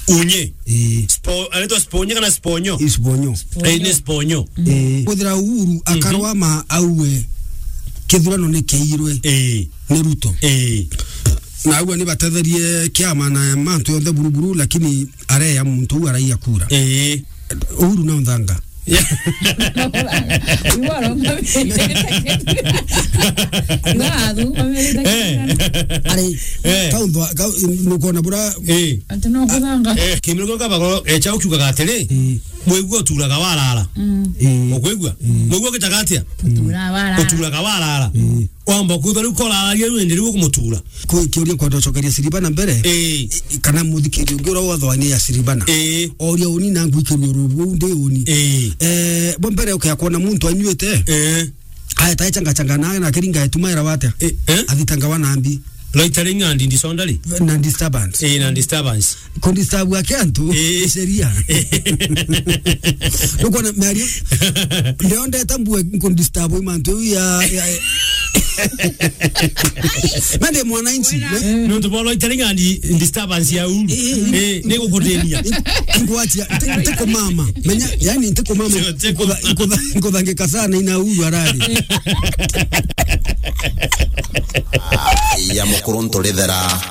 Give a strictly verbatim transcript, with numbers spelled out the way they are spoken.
Unye. Ii. Spo-, anaitwa Sponye kana Sponyo? Ii, Sponyo. Eh, ni Sponyo. Ii. Kwithira Uhuru akarwa ma auwe kithurano ni kiirwe Ii. ni Ruto. Ii. Na auwe ni batetherie kiama na mantu yonthe buruburu, lakini areya muntu uu araia kura. Ii. Uhuru na nthanga. Iwaro. Iwaro. Eh. Ari, Eh. kaunthwa, kau-, nukona bura Eh. Ati no kuthanga. Eh, kimiro kio kabagoro, eh, chao kiugaga atiri, Mm. mwigua uturaga warara. Mm. Mm. Ukwigua? Mm. Mwigua gitaga atia? Utura warara. Uturaga warara. Mm. Wamba kwithwa riu koraragia riu indi riu ukumutura. Ku-, kiuria kwenda ucokeria Siribana mbere? Eh. I-, i-, kana muthikiri ungi uria wothe wani ya Siribana? Eh. Oria uni na ngwikiria uru buu ndi uni. Eh. Eh, bo mbere ukia kwona muntu anyuite. Eh. Aya, tae changa changa nawe na kiringa etuma era watia? Eh, eh? Athitanga wa nambi. Loitering and disorderly? Na disturbance. Eh, na disturbance. Ku disturb ake antu, Eh. sheria. Eh. Nukona miario. Ndio ndeta mbue ku disturb mantu ya, ya, mende mwananchi. Nontu bwa loitering and disturbance ya uru. Eh, eh, Eh, ni gukutenia. Ingwachia, nti-, ntikumama. Menya, yani ntikumama. Ntiku- Nkutha-, nkutha-, nkuthangika sana ina uru arari. Ya mukuru nturithera.